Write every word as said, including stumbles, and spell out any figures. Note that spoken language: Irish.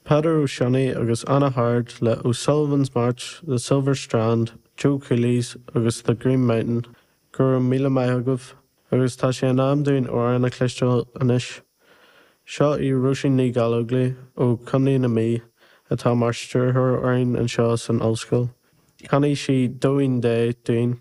Peadar Ó Sionnaigh agus Anna Hard le O'Sullivan's March, The Silver Strand, Joe Cooley's agus The Green Mountain, go raibh míle maith agaibh, agus tá sé in am dúinn amhrán a chloisteáil anois. Seo í Róisín Ní Ghallchobhair ó Chontae na Mí atá mar stiúrthóir orainn anseo san ollscoil. Canfaidh sí Dóín Dé dúinn.